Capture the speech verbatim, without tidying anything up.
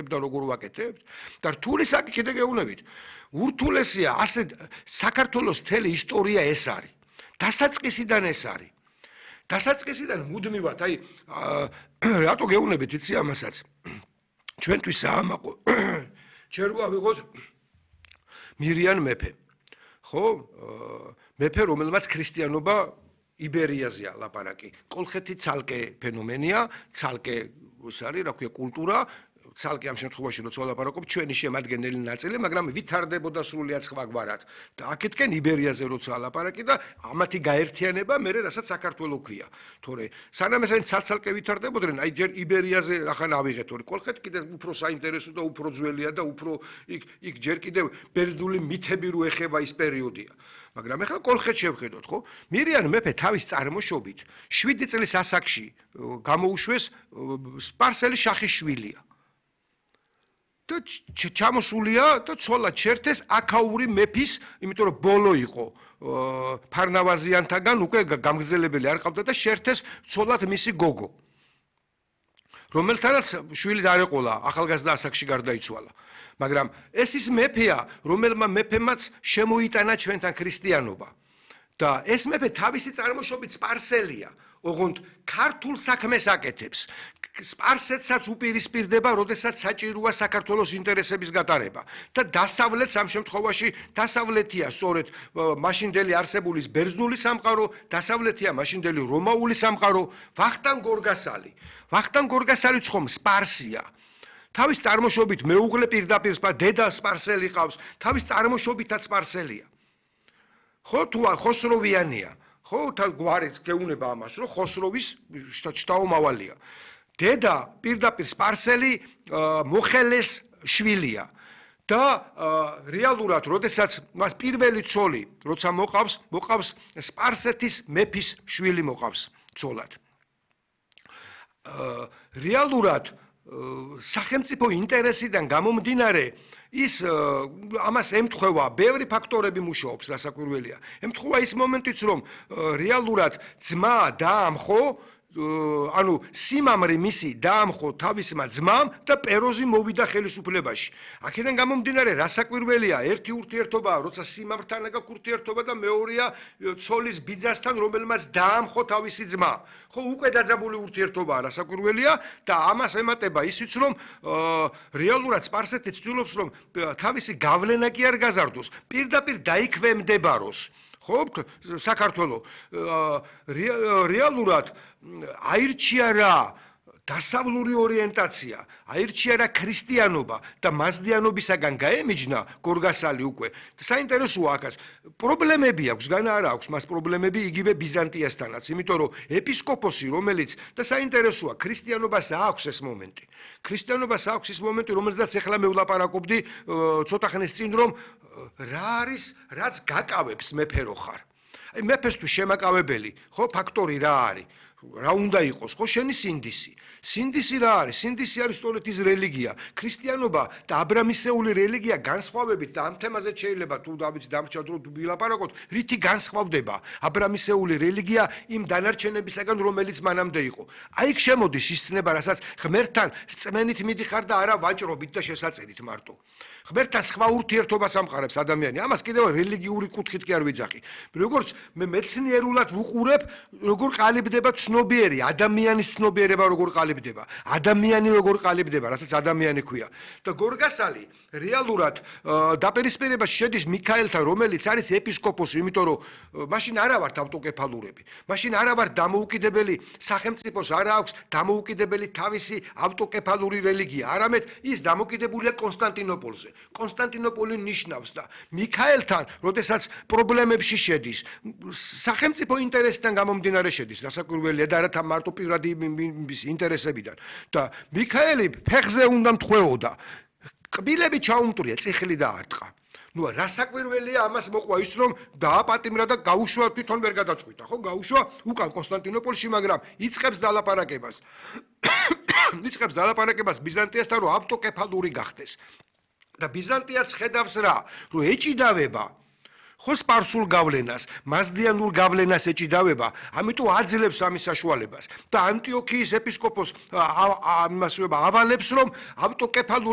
და როგორ ვაკეთებთ და რთული საკითხი კიდე გეუბნებით ურთულესია ასე საქართველოს მთელი ისტორია ეს არის დასაწყისიდან ეს არის დასაწყისიდან მუდმივად აი რატო გეუბნებით იცი ამასაც ჩვენთვის საამაყო ჯერ ვიღოთ მირიან მეფე ხო მეფე რომელმაც ქრისტიანობა იბერიაზეა ლაპარაკი კოლხეთი ცალკე ფენომენია ცალკე ის არის რა ქვია კულტურა ცალკე ამ შემთხვევაში როცა ვლაპარაკობ ჩვენი შემადგენელი ნაწილი მაგრამ ვითარდებოდა სრულიად სხვაგვარად და აქეთკენ იბერიაზე როცა ლაპარაკი და ამათი გაერთიანება მე რასაც საქართველოს ქვია თორე სანამ ესენი ცალ-ცალკე ვითარდებოდნენ აი ჯერ იბერიაზე რახან ავიღეთ თორე კოლხეთი კიდე უფრო საინტერესო და უფრო ძველია და უფრო იქ იქ ჯერ კიდე ბერძნული მითები რო ეხება ის პერიოდია მაგრამ ახლა კოლხეთში შევხედოთ ხო მირიან მეფე თავის წარმოშობით შვიდი წლის ასაკში გამოუშვეს სპარსელი შახის შვილია და ჩამოსულია და ცოლა ჩერთეს აქაური მეფის იმიტომ რომ ბოლო იყო ფარნავაზიანთაგან უკვე გამგზელებელი არ ყავდა და შერთეს ცოლად მისი გოგო რომელთანაც შვილი დარეყოლა ახალგაზრდა ასაკში გარდაიცვალა მაგრამ ეს ის მეფეა რომელმა მეფემაც შემოიტანა ჩვენთან ქრისტიანობა და ეს მეფე თავისი წარმოშობით სპარსელია ოღონდ ქართულ საქმეს აკეთებს სპარსეთსაც უპირისპირდება როდესაც საჭიროა საქართველოს ინტერესების გატარება და დასავლეთს ამ შემთხვევაში დასავლეთია სწორედ მაშინდელი არსებულის ბერძნული სამყარო დასავლეთია მაშინდელი რომაული სამყარო ვახტანგ გორგასალი ვახტანგ გორგასალი ხომ სპარსია თავის წარმოშობით მეუღლე პირდაპირ დედა სპარსელი ყავს თავის წარმოშობითაც სპარსელია ხო თუ ხოსროვიანია ხო თან გვარიც გეუნება ამას რომ ხოსროვის შტაომავალია დედა პირდაპირ სპარსელი მოხელეს შვილია და რეალურად როდესაც მას პირველი ცოლი როცა მოყავს მოყავს სპარსეთის მეფის შვილი მოყავს ცოლად რეალურად სახელმწიფო ინტერესიდან გამომდინარე ის ამას ემთხვევა ბევრი ფაქტორები მუშაობს რასაკვირველია ემთხვევა ის მომენტიც რომ რეალურად ძმა დაამხო ანუ სიმამრი მისი დაამხო თავისმა ძმამ და პეროზი მოვიდა ხელისუფლებაში. აქედან გამომდინარე რასაკვირველია ერთი ურთიერთობაა, როცა სიმამრთან აქვს ურთიერთობა და მეორეა ცოლის ბიძასთან, რომელმაც დაამხო თავისი ძმა. ხო, უკვე დაძაბული ურთიერთობაა რასაკვირველია და ამას ემატება ისიც რომ რეალურად სპარსეთი ცდილობს რომ თავისი გავლენა კი არ გაზარდოს, პირდაპირ დაიქვემდებაროს. ხო, საქართველო რეალურად აირჩია რა დასავლური ორიენტაცია, აირჩია რა ქრისტიანობა და მაზდიანობისაგან გაემიჯნა გორგასალი უკვე. საინტერესოა აქაც. პრობლემები აქვს, განა არა აქვს მას პრობლემები იგივე ბიზანტიასთანაც, იმიტომ რომ ეპისკოპოსი, რომელიც და საინტერესოა, ქრისტიანობას აქვს ეს მომენტი. ქრისტიანობას აქვს ეს მომენტი, რომელზეც ახლა მე ვლაპარაკობდი ცოტა ხნის წინ, რომ რა არის, რაც გაკავებს მეფე რო ხარ. აი მეფესთვის შემაკავებელი, ხო, ფაქტორი რა არის? რა უნდა იყოს, ხო, შენი სინდისი. სინდისი რა არის? სინდისი არის სწორედ ის რელიგია. ქრისტიანობა და აბრამისეული რელიგია განსხვავებით და ამ თემაზე შეიძლება თუ დავიცი დამრჩა დრო ვილაპარაკოთ, რითი განსხვავდება აბრამისეული რელიგია იმ დანარჩენებისაგან, რომელიც მანამდე იყო. აი იქ შემოდის ის ცნება, რასაც ღმერთთან რწმენით მიდიხარ და არა ვაჭრობით და შესაწერით მარტო. ღმერთთან სხვა ურთიერთობას ამყარებს ადამიანი. ამას კიდევ რელიგიური კუთხით კი არ ვიძახი. როგორც მე მეცნიერულად ვუყურებ, როგორ ყალიბდება ცნობიერი, ადამიანის ცნობიერება როგორ ყალიბდება, ადამიანი როგორ ყალიბდება, რასაც ადამიანი ქვია. და გორგასალი რეალურად დაპირისპირებაში შედის მიქაელთან, რომელიც არის ეპისკოპოსი, იმიტომ რომ მაშინ არა ვართ ავტოკეფალურები. მაშინ არა ვართ დამოუკიდებელი სახელმწიფოს არა აქვს დამოუკიდებელი თავისი ავტოკეფალური რელიგია. არამედ ის დამოკიდებულია კონსტანტინოპოლზე. კონსტანტინოპოლი ნიშნავს და მიქაელთან, როდესაც პრობლემებში შედის, სახელმწიფო ინტერესიდან გამომდინარე შედის, რასაკვირველია და არა მარტო პირადი ინტერესებიდან. და მიქაელი ფეხზე უნდა მთხვეოდა. კბილები ჩაუმტრია, წიხლი დაარტყა. ნუ რასაკვირველია ამას მოყვა ის რომ დააპატიმრა და გაუშვა თვითონ ვერ გადაწყვიტა, ხო? გაუშვა უკან კონსტანტინოპოლში, მაგრამ იწყებს დალაპარაკებას. იწყებს დალაპარაკებას ბიზანტიასთან, რომ ავტოკეფალური გახდეს. და ბიზანტიაც ხედავს რა, რომ ეჭიდავება ხო სპარსულ გავლენას, მაზდიანურ გავლენას ეჭიდავება, ამიტომ აძლევს ამის საშუალებას და ანტიოქიის ეპისკოპოს ამასვება ავალებს, რომ ავტოკეფალურ